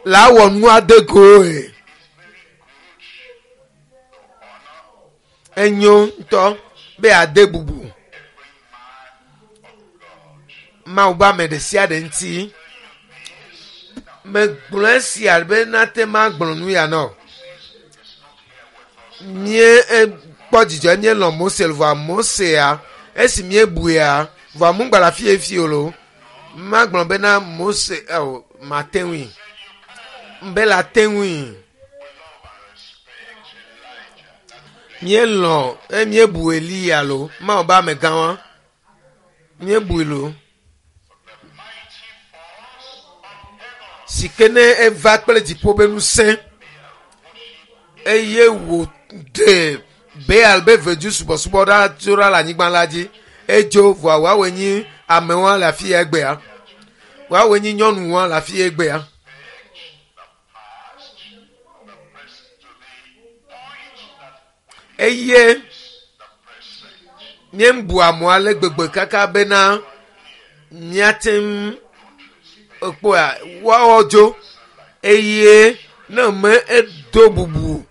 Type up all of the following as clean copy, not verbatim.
La wɔ nua de goe. Enyo ŋutɔ be ade bubu Mawu be ame ɖe sia ɖe ŋuti. Megblɔ esia be nate magblɔ nu ya na o. Mie kpɔ dzidzɔ míelɔ̃ Mose vɔa Mosea esi míebuia vɔa mugba le afi efi o lo. Magblɔ bena Mose o mate ŋui. Be la te ŋui. Míelɔ̃ eye míebu Eliya lo. Mawu be amegã wa. Míebui lo. Si ke ne eva kple dziƒo be ŋusẽ eye wòɖe Baal be vedu subɔsubɔ ɖa tso ɖa le anyigba la dzi. Edzo vɔa woawoe nyi amewoa le afi ya egbea. Woawoe nyi nyɔnuwoa le afi ya egbea. Eye míebu amewo ale gbegbe kaka bena míate ŋu ekpɔa woawo dzo eye ne me edo bubu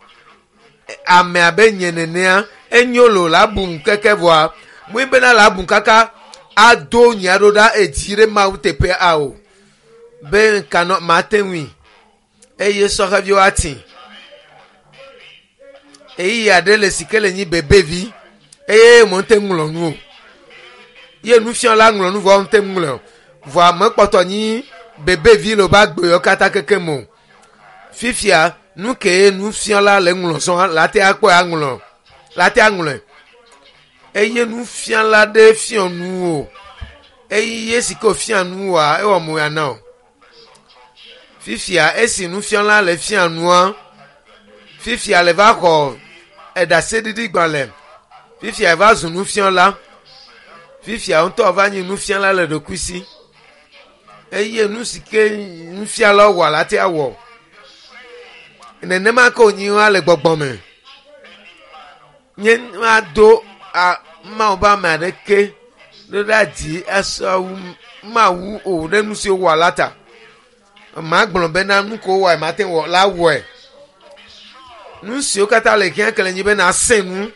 ame abe nye nenea enyo lo la bu keke vɔa mui bena la bu kaka ado nya ɖo ɖa edzi ɖe Mawu teƒe ao be nkanɔ mate ŋui eye sɔheviwo ati eyi aɖe le si ke le nyi bebevi eye mo ŋte ŋlɔ nu o ye nufiala ŋlɔ nu vɔ ŋte ŋlɔ o vɔa mekpɔtɔ nyi bebevi le wobe agbewo katã keke me o fifia nu ke nufiala le ŋlɔ zɔn la te akpɔe aŋlɔ la te aŋlɔe eye nufiala ɖe fiɔ nu o eye si ke wòfia nu oa ewɔ mo ya na o fifia esi nufiala le fia nua fifia le va xɔ eɖaseɖiɖi gbalẽ fifia va zu nufiala fifia ŋutɔ va nyi nufiala le ɖokui si eye nu si ke nufiala wɔ la te awɔ nenema ke wònyi wa le gbɔgbɔ me nye mado a Mawu be ame aɖeke ɖo ɖe dzi asɔ wu Mawu o ɖe nu si wowɔ la ta magblɔ bena nu ko wowɔ mate wɔ la wɔe nu siwo katã le hiã ke le nyi bena asẽ nu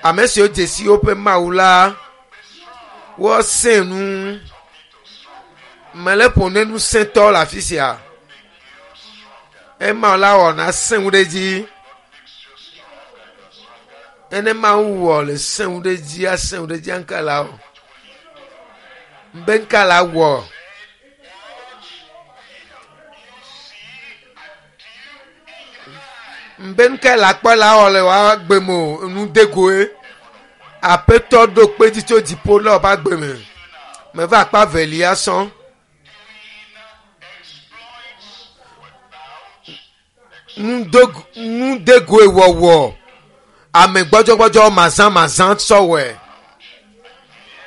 ame siwo dze si woƒe Mawu la woasẽ nu mele ƒo ne ŋusẽtɔ le afi sia ema la wɔ na sẽ ŋu ɖe dzi ene Mawu wɔ le sẽ ŋu ɖe dzi asẽ ŋu ɖe dzi ŋka la wɔ be ŋka la wɔ be ŋka la kpɔ la wɔ le wa gbe me o nu de goe aƒetɔ ɖo kpe dzi tso dziƒo le woƒe agbe me meva akpa velia sɔn. Nudegoe wɔwɔ ame gbɔdzɔgbɔdzɔ mazãmazã sɔwɔe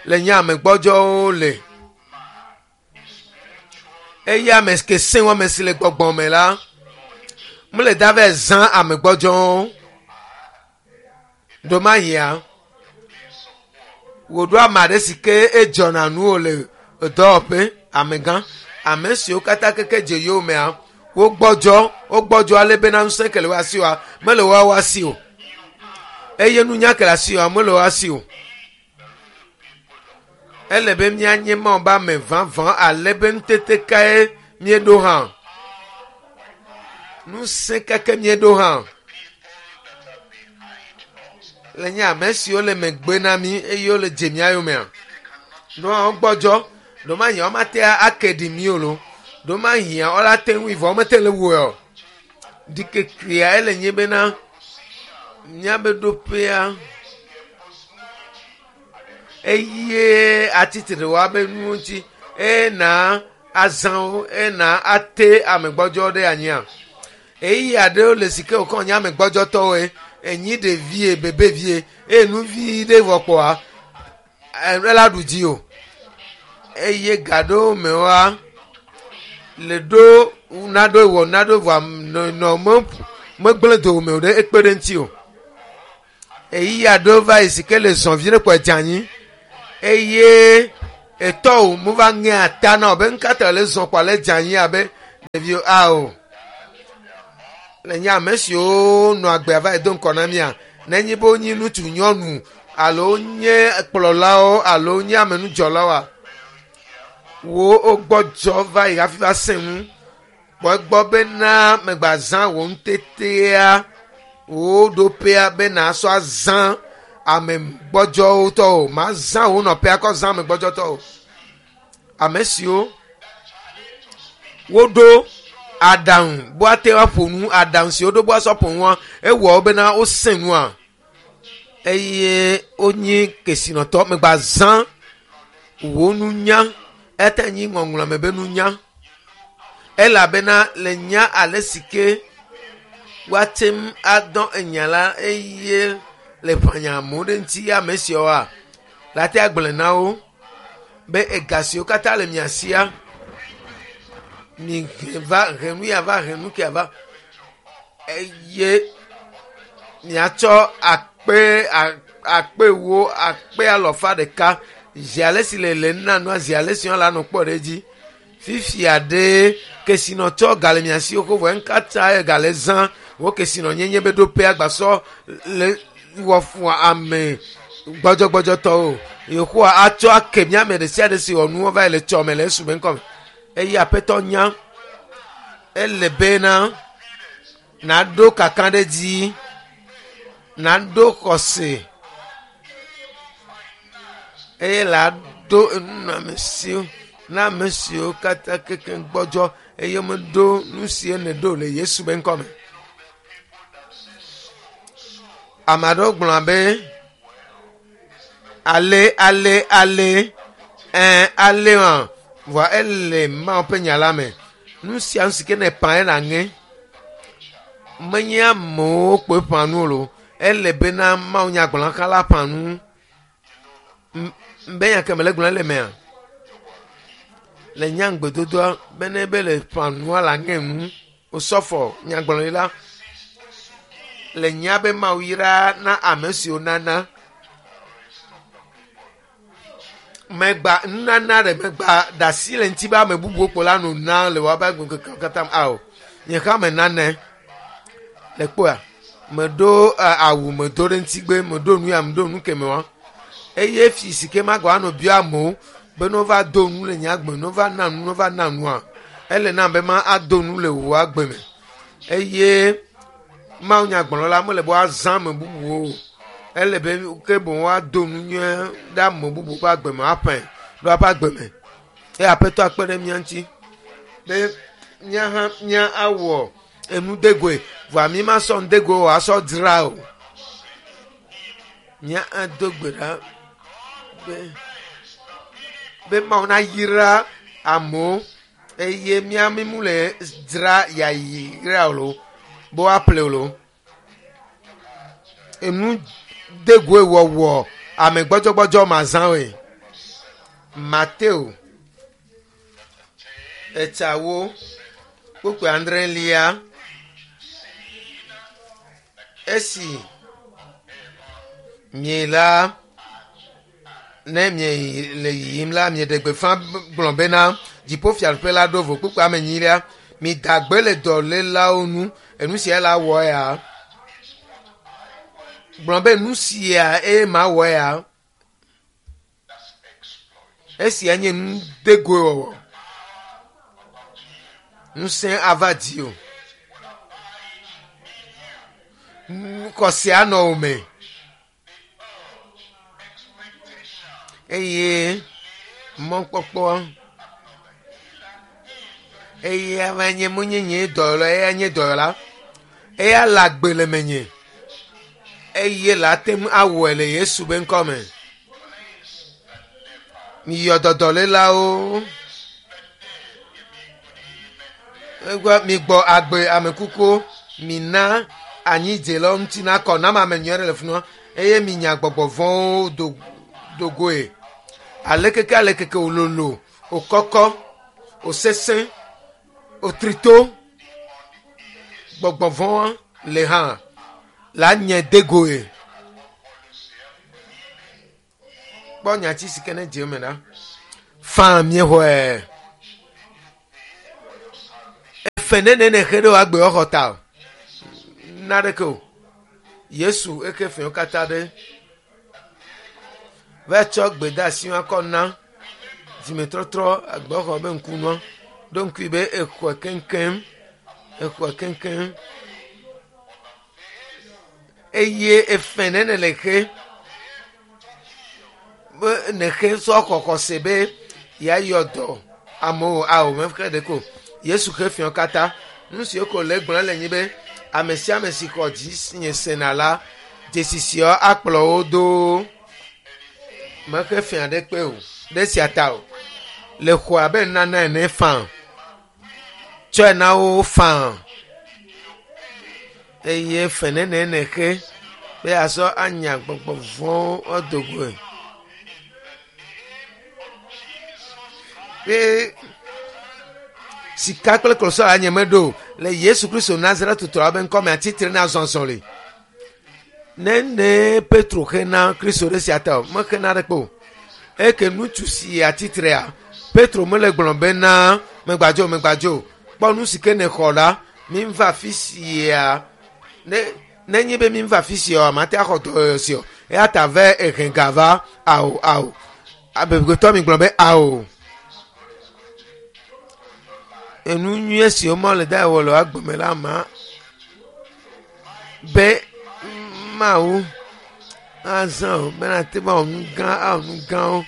le nye ame gbɔdzɔwo le eye ame ke sẽ wu ame si le gbɔgbɔ me la mele da vɛ zã ame gbɔdzɔwo ɖomahia wòɖo ame aɖe si ke edzɔna nu o le dɔwɔƒe amegã ame siwo katã keke dze yowòmea wogbɔdzɔ wogbɔdzɔ ale bena ŋusẽ ke le wo asi oa mele woawo asi o eye nunya ke le asi oa mele wo asi o ele be míanye Mawu be ame vavã ale be ŋutete kae míeɖo hã ŋusẽ keke míeɖo hã le nye ame siwo le megbe na mí eye wole dze mía yomea ɖo hã wogbɔdzɔ ɖo mahia womate ake ɖi mí o lo ɖo mahia wola te ŋui vɔ womete le wɔe o ɖikekea ele nye bena míabe ɖoƒea eye atitre woabe nuwo ŋuti ena azãwo ena ate amegbɔdzɔ ɖe anyia eyi aɖewo le si ke wokɔ nye amegbɔdzɔtɔwoe enyi ɖevie bebevie eye nuvi ɖe vɔ kpɔa ela ɖu dzi o eye ga ɖewo me woa le ɖo naɖo wɔ naɖo vɔa nɔ me megblẽ dowòme o ɖe ekpe ɖe ŋuti o eyi aɖewo va yi si ke le zɔ vi ɖe kpɔ dze anyi eye etɔwo mo va ŋe ata na wo be ŋkata le zɔ kpɔ le dze anyi abe. Ɖeviwo ao. Le nye ame siwo nɔ agbea va yi do ŋkɔ na mía, nenye be wonye ŋutsu, nyɔnu alo nye kplɔlawo alo nye amenudzɔlawoa, wo wogbɔdzɔ va yi hafi va sẽ ŋu. Kpɔ egbɔ bena megbazã wò ŋutetea, wò ɖoƒea be nàsɔ azã ame gbɔdzɔwo tɔ o. Mazã wò nɔƒea kɔ zã ame gbɔdzɔtɔ o. Ame siwo woɖo aɖaŋu be woate ŋu aƒo nu, aɖaŋu si woɖo be woasɔ ƒo nua, ewɔ wo bena wosẽ nua eye wonye kesinɔtɔ. Megbazã wò nunya, eya ta nyi ŋɔŋlɔ me be nunya elabena le nya ale si ke woate ŋu adɔ enya la eye le ƒãnya amewo ɖe ŋuti ame siawoa, la te agblɔe na wo be ega siwo katã le mia sia, mi he va he nu ya va he nu kia va eye miatsɔ akpe akpe ewo akpe alɔfa ɖeka zi ale si le le nana nua zi ale si la nɔ kpɔ ɖe edzi. Fifia ɖe kesinɔtɔ gale mia si xoxo vɔ eŋkatsa gale zã wo kesinɔnyenye be ɖoƒe agbasɔ le wɔ fua ame gbɔdzɔgbɔdzɔtɔwo. Yehowa atsɔ ake mía ame ɖe sia ɖe si wɔ nuwo va yi le tsɔme le Yesu be ŋkɔme. Eye Aƒetɔ nya ele bena naɖo kakaɖedzi, naɖo xɔse eye la ɖo enunɔamesiwo na ame siwo katã kekeŋ gbɔdzɔ eye womeɖo nu si neɖo le Yesu be ŋkɔme. Ame aɖewo gblɔna be ale ale ale ɛɛ ale hã vɔa ele Mawu ƒe nya la me. Nu sia nu si ke ne ƒã ela ŋe. Menye amewo kpoe ƒã nu o. Ele bena Mawu nyagblɔla la ƒã nu. Be nya ke mele gblɔm le mea? Le nya ŋugbedodoa be ne be le ƒã nua la ŋe nu. Osɔfɔ nyagblɔɖila le nya be Mawu yra na ame siwo nana. Megba nunana ɖe megba ɖe asi le ŋuti be ame bubuwo kpo la no na le woaƒe agbeŋkekewo katã me. Ao, nye hã menanɛ. Le kpɔa, meɖo awu medo ɖe ŋutigbe, meɖo nu ya meɖo nu keme wa. Eye fi si ke magba anɔ bia amewo be ne wova do nu le nye agbe, ne wova na nu, ne wova na nua, ele nam be ma ado nu le wò agbe me. Eye Mawu nyagblɔla mele be woazã ame bubuwo o. Ele be ke boŋ woado nu nyuie ɖe ame bubu ƒe agbe me, aƒãe ɖe woaƒe agbe me. Eye Aƒetɔ akpe ɖe mía ŋuti be mía hã mía awɔ enu degoe vɔa mi masɔ nudegoe o asɔ dzra o. Mía ado gbe ɖa be be Mawu nayra amewo eye mía mi mu le dzra yayra o lo be woaƒle o lo. Enu degoe wɔwɔ ame gbɔdzɔgbɔdzɔ mazãwoe. Mateo etsawo kpukpui adrelia esi mie la ne mie le yiyim la mieɖe gbeƒã gblɔ bena dziƒofiaɖuƒe la ɖo vo kpukpui ame enyilia mida gbe le dɔlélawo ŋu enu sia la wɔ ya gblɔ be nu sia eye mawɔ ya esia nye nudegoe wɔwɔ ŋusẽ ava dzi o xɔse anɔ wo me eye mɔkpɔkpɔ eye ava nye menye nye dɔyɔla eya nye dɔyɔla eya le agbe le menye eye la te ŋu awɔe le Yesu be ŋkɔ me. Miyɔ dɔdɔlélawo. Egbe migbɔ agbe ame kukuwo. Mina anyidzelawo ŋuti nakɔ nam ame nyui aɖe le fi ma eye minya gbɔgbɔ vɔ̃wo do dogoe. Alekeke alekeke wòlolo, wòkɔkɔ, wòsesẽ, wòtrito, gbɔgbɔ vɔ̃a le hã la nye degoe. Kpɔ nyati si ke ne dze eme ɖa. Faa miexɔe. Efe nene ne xe ɖe wò agbe xɔ ta o. Naneke o. Yesu eke fewo katã ɖe. Va tsɔ gbedeasi akɔ na dzimetɔtrɔ agbexɔ be ŋkunua. Ɖo ŋkui be exɔe keŋkeŋ. Exɔe keŋkeŋ. Eye efe nene le xe be nexe sɔ xɔxɔse be yeayɔ dɔ amewo awo mexe ɖe ko. Yesu xe fiɔ katã. Nu siwo ko le gblɔm le nyi be ame sia ame si xɔ dzi nye sena la, dzesi siawo akplɔ wo do. Mexe fia ɖe kpe o, ɖe sia ta o. Le xɔ abe nunana ene faa. Tsɔe na wo faa. Eye fe nene nexe be yeasɔ anya gbɔgbɔ vɔ̃wo ado goe. Be sika kple klosalo nye meɖo o. Le Yesu Kristo Nazaretotɔa be ŋkɔme atsitre na zɔzɔli. Nene Petro xe na Kristo ɖe sia ta o, mexe na ɖekpe o. Eke ŋutsu si atsitrea, Petro mele gblɔ bena megbadzo megbadzo. Kpɔ nu si ke nexɔ la, mi va afi sia. Ne nenye be mi va afi sia o, mate axɔ dɔyɔyɔ si o. Eya ta ve ehe ga va ao ao. Amegbetɔ mi gblɔ be ao. Enu nyuie siwo mɔ le da wɔ le agbeme la ma be Mawu azã o bena te va wɔ nu gã awɔ nu gãwo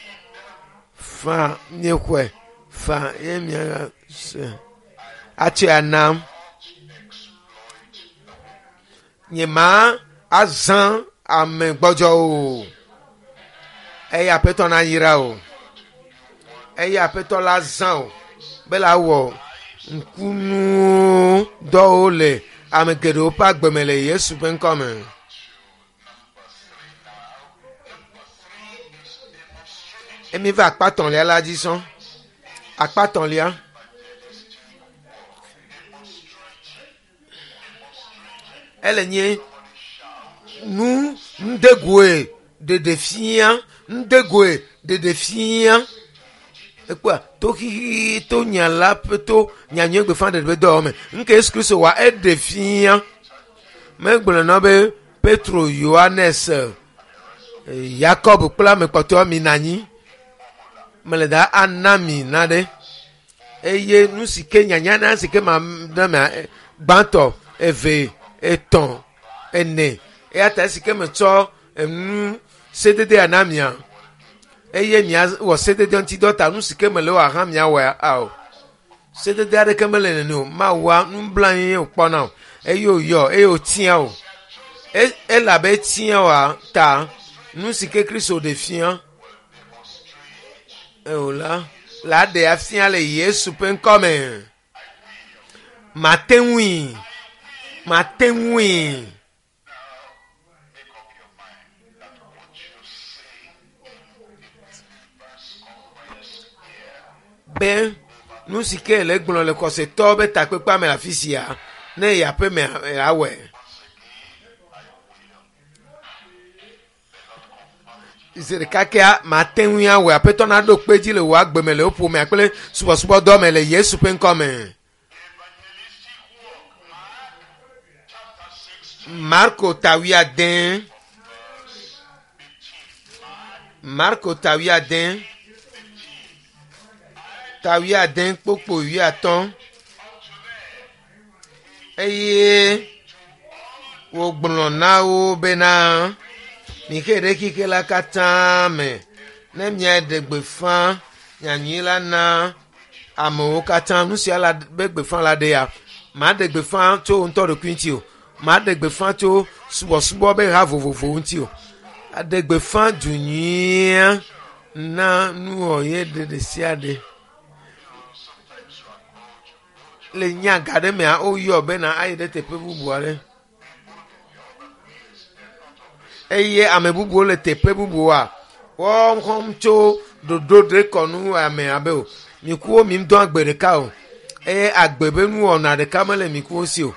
fa miexɔe fa ye mia se atsɔe anam. Nye ma azã ame gbɔdzɔwo o. Eye Aƒetɔ na yra o. Eye Aƒetɔ la zã o be la wɔ ŋkunuwo dɔwo le ame geɖewo ƒe agbeme le Yesu ƒe ŋkɔ me. Emi va akpa tɔ̃lia la dzi sɔŋ. Akpa tɔ̃lia. Ele nye nu ŋdegoe ɖeɖefia, ŋdegoe ɖeɖefia. Ekpɔa to xixi to nya la ƒe to nyanyui gbeƒãɖeɖe ƒe dɔwɔwɔ me. Nuke Yesu Kristo wa eɖe fia. Megblɔ na be Petro, Yohanes, Yakob kple ame kpɔtɔewo mi nɔ anyi. Mele da ana mi naɖe. Eye nu si ke nyanya na si ke ma na mia gbãtɔ, eve, etɔ̃, ene. Eya ta esi ke metsɔ enu sededea na mia eye miawɔ sedede ŋuti dɔ ta nu si ke mele wɔ hã miawɔe ao. Sedede aɖeke mele nene o. Mawua nublanui ye wòkpɔna o eye wòyɔ eye wòtia o. Elabe etia oa ta nu si ke Kristo ɖe fia eo la la ɖe afia le Yesu ƒe ŋkɔme. Mate ŋui, mate ŋui. Be nu si ke le gblɔ le xɔsetɔwo be takpekpea me le afi sia ne yi aƒe me awɔe. Zi ɖeka kea mate ŋui awɔe. Aƒetɔ naɖo kpe dzi le wò agbe me le wò ƒomea kple subɔsubɔdɔ me le Yesu ƒe ŋkɔ me. Marko ta wuiade. Marko ta wuiade. Ta wuiade kpokpo wuiatɔ̃. Eye wògblɔ na wo bena, mixe ɖe xixe la katã me ne miaɖe gbeƒã nyanyui la na amewo katã. Nu sia la be gbeƒã la ɖe ya. Maɖe gbeƒã tso ŋutɔ ɖokui ŋuti o. Maɖe gbeƒã tso subɔsubɔ be ha vovovowo ŋuti o. Aɖe gbeƒã du nyuia na nuwɔye ɖe ɖe sia ɖe. Le nya ga ɖe mea, woyɔ bena ayi ɖe teƒe bubu aɖe. Eye ame bubuwo le teƒe bubuwoa, woxɔm tso ɖoɖo ɖe kɔnu ame abe o. Mikuwo mi ŋdɔ agbe ɖeka o. Eye agbe be nuwɔna ɖeka mele mikuwo si o.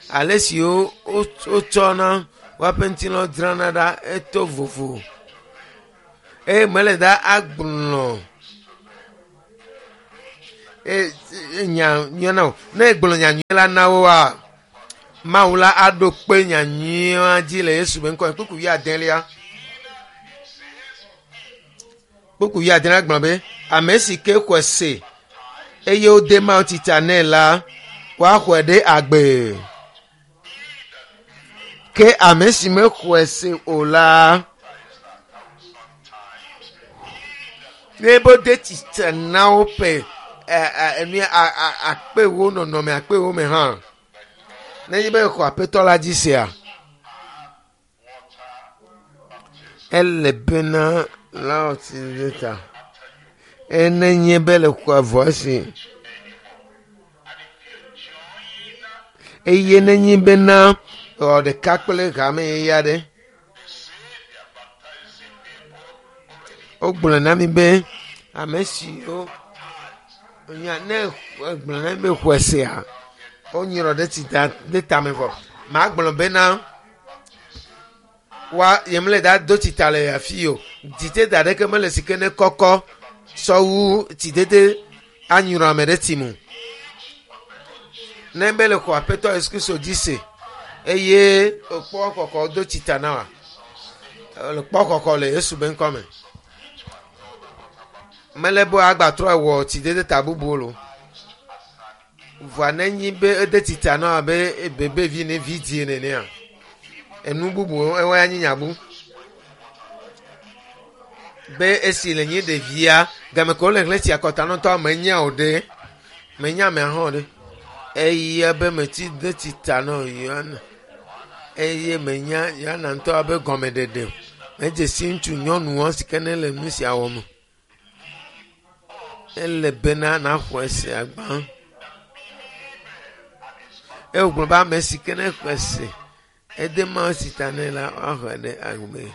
Ale si wotsɔna woaƒe ŋutilã dzrana ɖa eto vovo. Eye mele da agblɔ. nya nyuie na wo. Ne egblɔ nya nyuie la na woa, Mawu la aɖo kpe nya nyuia dzi le Yesu be ŋkɔ me. Kpukpui wuiadelia. Kpukpui wuiadelia gblɔ be ame si ke xɔe se eye wode Mawu tsitsa nɛ la, woaxɔe ɖe agbe. Ke ame si mexɔe se o la, ne be wode tsitsa na woƒe enu akpe wo nɔnɔme akpe wo me hã. Nenye be exɔ aƒetɔ la dzi sea, ele bena la wɔ tsi ɖe ta. Enenye be le xɔ avɔ esi. Eye nenye bena wɔ ɖeka kple hame yeye aɖe. Wogblɔ na mi be ame siwo nya ne gblɔ na mi be xɔe sea, wonyrɔ ɖe tsi ta ɖe tame vɔ. Magblɔ bena wa yemle da do tsi ta le afi o. Dzidede aɖeke mele si ke ne kɔkɔ sɔwu tsidede anyrɔ ame ɖe tsi mu. Ne be le xɔ aƒetɔ Yesu Kristo dzi se eye wòkpɔ kɔkɔ do tsi ta na wa. Le kpɔ kɔkɔ le Yesu be ŋkɔ me. Mele be agbatrɔ wɔ tsidede ta bubu o. Vɔa nenyi be ede tsi ta na wa be bebevi ne vi die nenea. Enu bubu ewoe anyi nyabu. Be esi le nyi ɖevia game ke wole ɣleti akɔta nɔtɔ menya o ɖe. Menya amea hã o ɖe. Eya be metsi de tsi ta na Yohana. Eye menya Yohana ŋutɔ abe gɔmeɖeɖe. Medze si ŋutsu nyɔnuwo si ke ne le nu sia wɔm. Ele bena naxɔe se agbã. Eye wògblɔ be ame si ke ne xɔe se ede Mawu si ta nɛ la woaxɔe ɖe agbe.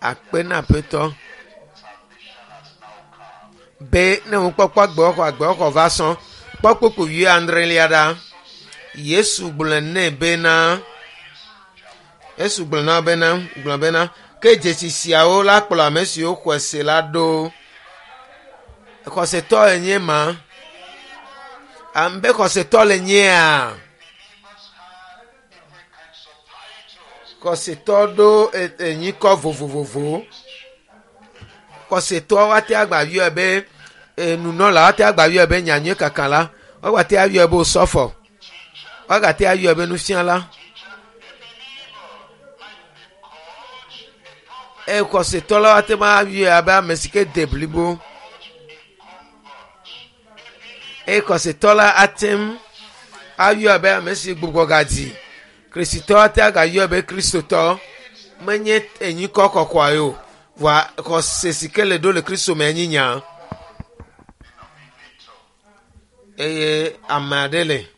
Akpe na aƒetɔ be ne ŋukpɔkpɔ agbewɔxɔ agbewɔxɔ va sɔ̃. Kpɔ kpukpui wuiadrelia ɖa. Yesu gblɔ nɛ bena Yesu gblɔ na bena gblɔ bena ke dzesi siawo la kplɔ ame siwo xɔe se la ɖo. Xɔsetɔ enye ma. Ame be xɔsetɔ le nyea. Xɔsetɔ ɖo enyikɔ vovovovo. Xɔsetɔ woate agba yɔe be nunɔla woate agba yɔe be nyanyui kaka la. Woate ayɔe be osɔfɔ. Woagate ayɔe be nufiala. Eye xɔsetɔ la woate ŋu ayɔe abe ame si ke de blibo. Eye xɔsetɔ la ate ŋu ayɔe abe ame si gbugbɔ gadzi. Kristitɔ ate agayɔe be kristotɔ. Menye enyikɔ kɔkɔa ye o. Vɔa xɔse si ke le ɖo le Kristo me enyi nya. Eye ame aɖe le.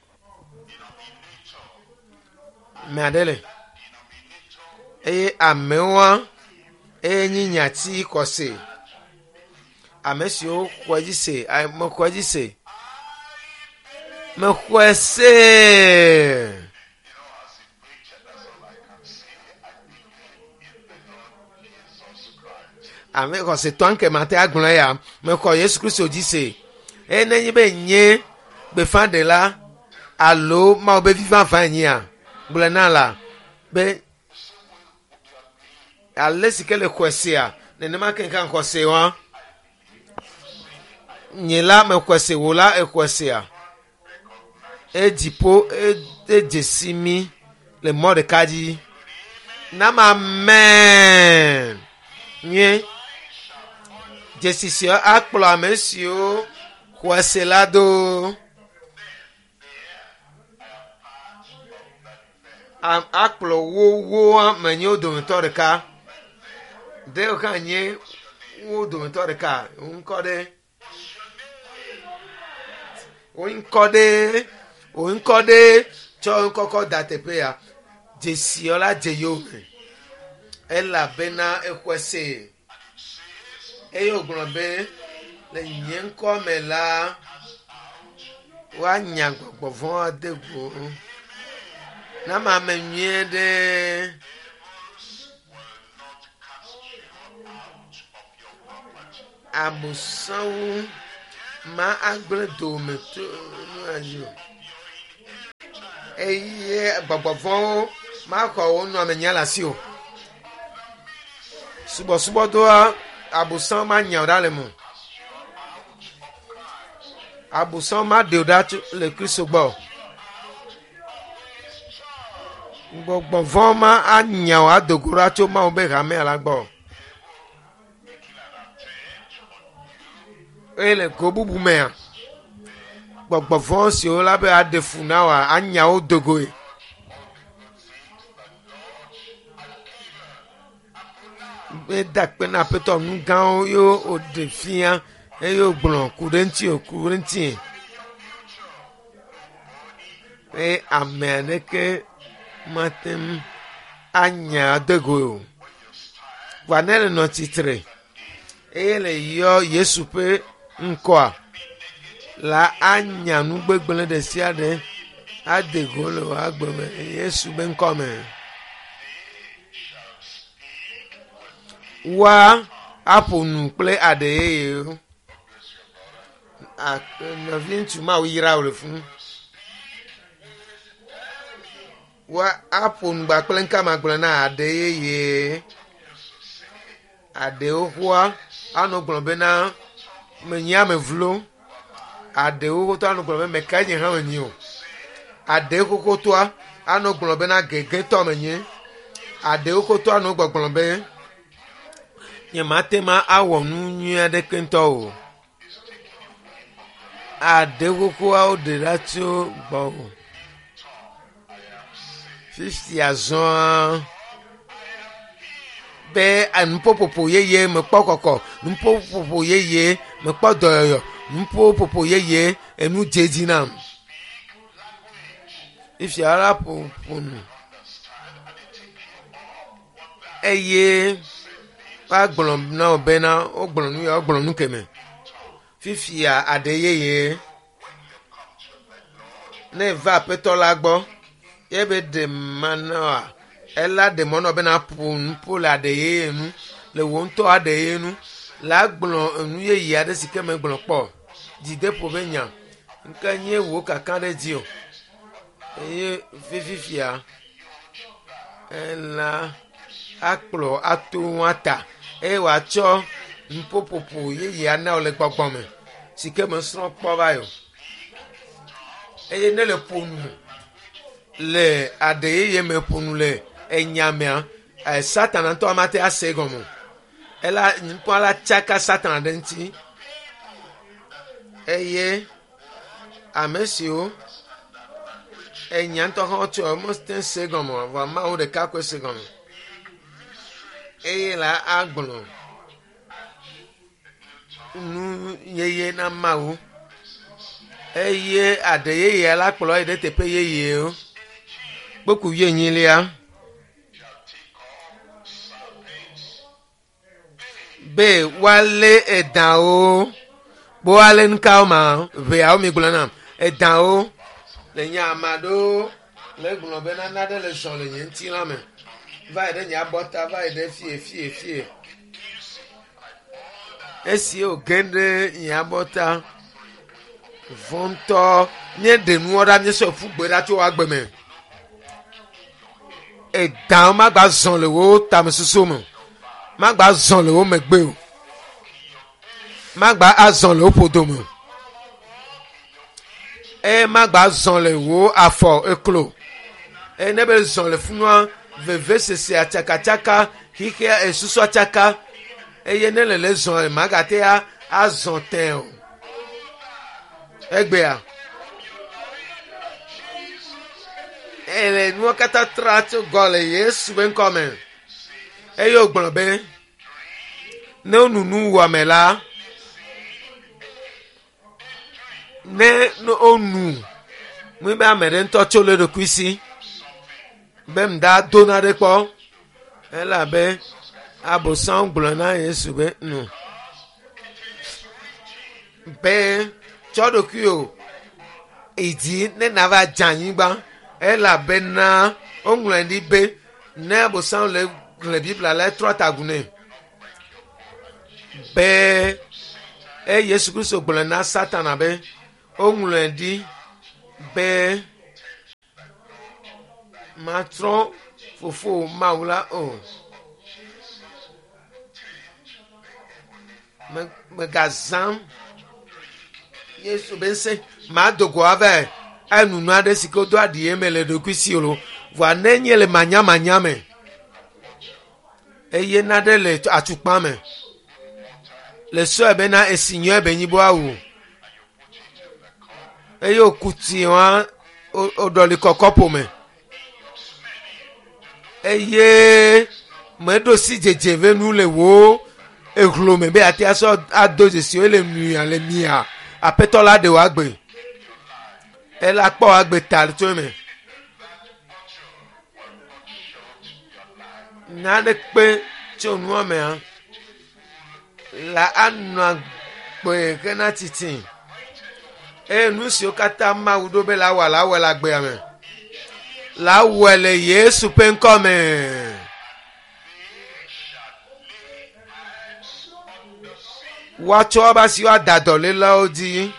Ame aɖe le. Eye amewoa eye nyi nyati xɔse. Ame siwo xɔe dzi se, mexɔe dzi se. Mexɔe se. Ame xɔsetɔ ŋke mate agblɔ ya. Mexɔ Yesu Kristo dzi se. Eye nenye be nye gbeƒãɖela alo Mawu be vi vavã enyia, gblɔe na la be ale si ke le xɔe sea, nenema ke hã xɔ se wa. Nye la mexɔe se, wò la exɔe sea. Edziƒo edze si mí le mɔ ɖeka dzi. Nama amen. Nyuie. Dzesi sia akplɔ ame siwo xɔe se la do. Akplɔ wo wo ame nye wo dometɔ ɖeka. Ɖewo hã nye wo dometɔ ɖeka. Wo ŋkɔ ɖe. Wo ŋkɔ ɖe. Wo ŋkɔ ɖe. Tsɔ ŋkɔkɔ da teƒe ya. Dzesiɔ la dze yome. Elabena exɔe se. Eye wògblɔ be le nye ŋkɔ me la, woanya gbɔgbɔ vɔ̃ ade go. Nama ame nyuie ɖe. Abosãwo. Ma agblẽ dome to nua dzi o. Eye gbɔgbɔvɔwo maxɔ wo nɔamenya le asi o. Subɔsubɔdɔa abosam manya wo ɖa le me o. Abosam maɖe wo ɖa tso le Kristo gbɔ o. Gbɔgbɔvɔ ma anya wo ado go ɖa tso Mawu be hamea la gbɔ o. Eye le go bubu mea, gbɔgbɔ vɔ̃ siwo la be aɖe fu na woa, anya wo do goe. Meda akpe na Aƒetɔ nu gãwo ye wòɖe fia eye wògblɔ ku ɖe ŋuti o ku ɖe ŋuti. Eye ame aɖeke mate ŋu anya ade goe o. Vɔa ne le nɔ tsitre eye le yɔ Yesu ƒe ŋkɔa la anya nu gbegblẽ ɖe sia ɖe ade go le wò agbe me le Yesu be ŋkɔ me. Woa aƒo nu kple aɖe yeyewo. Nɔvi ŋutsu Mawu yra wò le funu. Woa aƒo nu gba kple ŋka magblɔ na aɖe yeye. Aɖewo ƒoa anɔ gblɔ bena menye ame vlo. Aɖewo xoxotoa anɔ gblɔ be meka nye hã menye o. Aɖewo xoxotoa anɔ gblɔ bena gegetɔ menye. Aɖewo xoxotoa anɔ gbɔgblɔ be nyemate ma awɔ nu nyui aɖeke ŋutɔ o. Aɖe xoxoawo ɖe ɖa tso gbɔwò. Fifia zɔa be nuƒoƒoƒo yeye mekpɔ kɔkɔ, nuƒoƒoƒo yeye mekpɔ dɔyɔyɔ, nuƒoƒoƒo yeye enu dze edzi nam. Fifia la ƒo nu eye woagblɔ na wò bena wogblɔ nu ya wogblɔ nu keme. Fifia aɖe yeye ne eva aƒetɔ la gbɔ ye be ɖe manɔa ela ɖe mɔ nɔ bena ƒo nuƒo le aɖe yeye nu le wò ŋutɔ aɖe yeye nu la gblɔ enu yeye aɖe si ke megblɔ kpɔ o. Dzideƒo be nya nke nye wò kaka ɖe dzi o eye fifia ela akplɔ ato ŋua ta eye wòatsɔ nuƒoƒoƒo yeye ana wò le gbɔgbɔ me si ke mesrɔ̃ kpɔ va yi o. Eye ne le ƒo nu le aɖe yeye me ƒo nu le enya mea, Satana ŋutɔ mate ase egɔme o. Ela nuƒoa la tsaka Satana ɖe ŋuti eye ame siwo enya ŋutɔ hã wotsɔ womete se egɔme o vɔa Mawu ɖeka koe se egɔme eye la agblɔ nu yeye na Mawu eye aɖe yeyea la kplɔ yi ɖe teƒe yeyewo. Kpokpu wuienyilia be woalé edawo be woalé nukawo ma ʋeawo mi gblɔ nam edawo le nye ame aɖewo le gblɔ be nane aɖe le zɔ le nye ŋutilã me va yi ɖe nye abɔta va yi ɖe fie fie fie esi wòge ɖe nye abɔta vɔ ŋutɔ míeɖe nuwo ɖa míesɔ ƒu gbe ɖa tso agbe me edawo magba zɔ le wo tamesusu me magba zɔ le wo megbe o magba azɔ le wo ƒodo me o eye magba zɔ le wo afɔ eklo eye ne be zɔ le funua vevesese atsakatsaka xixia esusu atsaka eye ne le le zɔ magate azɔ tẽ o egbea ele nuwo katã tra tso gɔ le Yesu be ŋkɔ me eye wògblɔ be ne wonu nuwɔame la ne wonu nu be ame ɖe ŋutɔ tso le eɖokui si be ŋda do na ɖe kpɔ elabe Abosam gblɔ na Yesu be nu be tsɔ ɖokuiwò yi dzi ne nava dze anyigba elabena woŋlɔe ɖi be ne Abosam le xlẽ Biblia la etrɔ tagu nɛ be Eye Yesu Kristo gblɔ na Satana be woŋlɔe ɖi be matrɔ fofo Mawu la o. Megazãm Yesu be ŋusẽ mado go ava enu nu aɖe si ke wodo aɖi eme le ɖokui si o. Vɔa ne nye le manyamanya me eye naɖe le atukpa me le sɔe bena esi nyɔe be nyi bo awu eye woku tsi wa woɖɔli kɔ kɔpo me eye meɖo si dzedze ve nu le wo ehlo me be ate asɔ ado dzesi wo le nuya le mia aƒetɔ la ɖe wòagbe ela kpɔ wòagbe ta tso eme nane kpe tso nua mea la anɔ agbe hena tsitsi eye nu siwo katã Mawu ɖo be la wɔ la wɔe le agbea me la wɔe le Yesu ƒe ŋkɔ me. Woatsɔ woƒe asiwo ada dɔléleawo dzi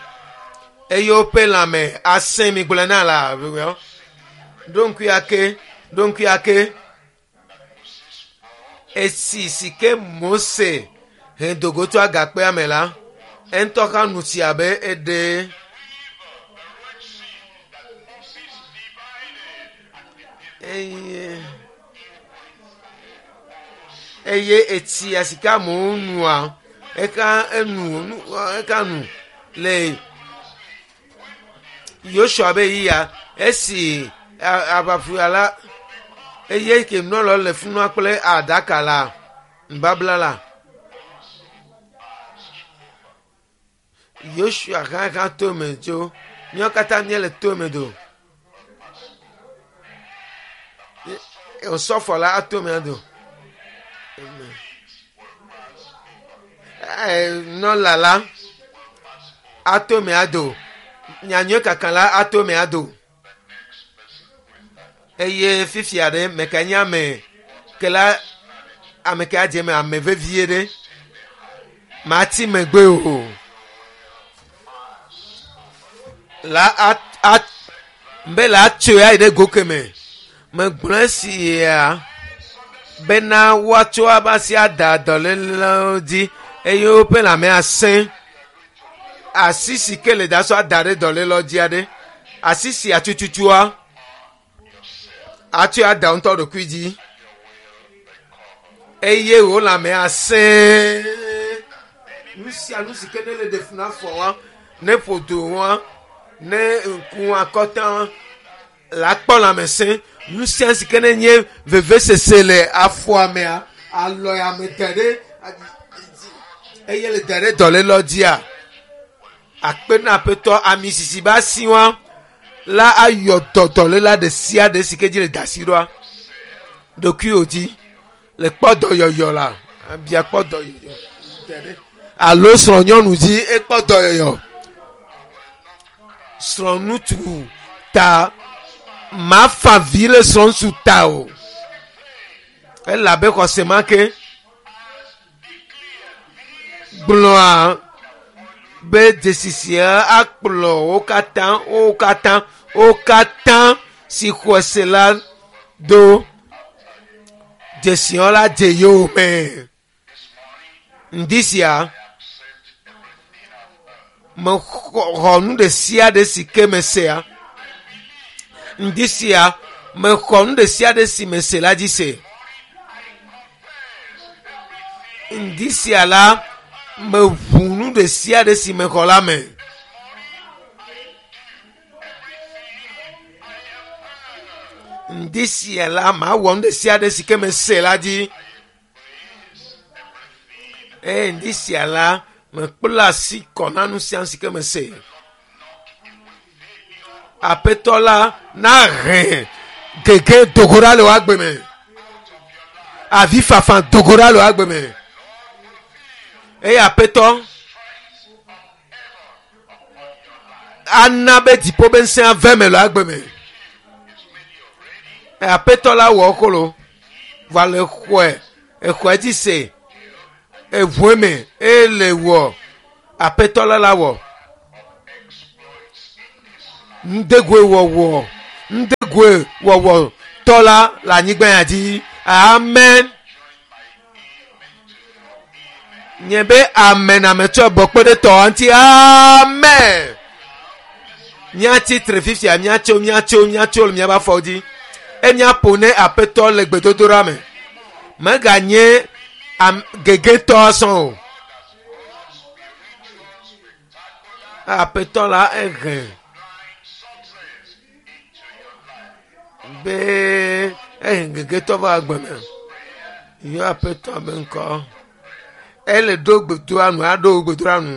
eye woƒe lãme asẽ mi gblɔe na la ɖo ŋkui ake ɖo ŋkui ake esi si ke Mose he dogo tso agakpea me la eŋutɔ hã nu tsi abe eɖe eye eye etsia si ke amewo nua eka enu nu eka nu le Yosua be yia esi aʋafia la eye ke nɔlɔ le funua kple aɖaka la nubabla la Yosua hã hã to eme tso míawo katã míele to eme do osɔfo la ato eme do nɔla la ato eme ado nyanyui kaka la ato eme ado eye fifia ɖe meka nye ame ke la ame ke adze me ame vevie ɖe mati megbe o la at at be la tso ya yi ɖe go keme megblɔ esia bena woatsɔ woƒe asi ada dɔlélewo dzi eye woƒe lãme asẽ asi si ke le da sɔ ada ɖe dɔlélewo dzi aɖe asi sia tututua atsɔe ada ŋutɔ ɖokui dzi eye wò lãme asẽ nu sia nu si ke ne le ɖe fu na afɔ wa ne ƒodo wa ne ŋku akɔta wa la kpɔ lãmesẽ nu sia si ke ne nye vevesese le afɔa mea alɔ ya me da ɖe eye le da ɖe dɔlélewo dzia akpe na aƒetɔ ami sisi be asi wa la ayɔ dɔ dɔléla ɖe sia ɖe si ke dzi le da asi ɖoa ɖokuiwò dzi le kpɔ dɔyɔyɔ la abia kpɔ dɔyɔyɔ alo srɔ̃nyɔnu dzi ekpɔ dɔyɔyɔ srɔ̃ŋutsu ta mafa vi le srɔ̃ŋutsu ta o elabe xɔse ma ke gblɔa be dzesi sia akplɔ wo katã wo katã wo katã si xɔe se la do dzesiwo la dze yowòme ŋdi sia mexɔ nu ɖe sia ɖe si ke mesea ŋdi sia mexɔ nu ɖe sia ɖe si mese la dzi se ŋdi sia la meʋu nu ɖe sia ɖe si mexɔ la me. Ŋdi sia la mawɔ nu ɖe sia ɖe si ke mese la dzi. Eye ŋdi sia la mekpla asi kɔ na nu sia nu si ke mese. Aƒetɔ la nahe gege dogo ɖa le wò agbe me. Avifafa dogo ɖa le wò agbe me. Eye aƒetɔ ana be dziƒo be ŋusẽ ave me le agbe me. Aƒetɔ la wɔ xolo va le xɔe exɔe dzi se eʋue me eye le wɔ Aƒetɔ la la wɔ ŋdegoe wɔwɔ ŋdegoe wɔwɔ tɔ la le anyigba ya dzi. Amen. Nye be amen ametsɔ bɔ kpe ɖe tɔ ŋuti. Amen. Míatsi tre fifia, míatso, míatso, míatso le míaƒe afɔwo dzi. E míaƒo ne aƒetɔ le gbedodoɖa me. Meganye am gegetɔ sɔn o. Aƒetɔ la ehe be ehe gegetɔ va agbe me. Yɔ aƒetɔ be ŋkɔ. Ele ɖo gbedoa nu, aɖo gbedoa nu.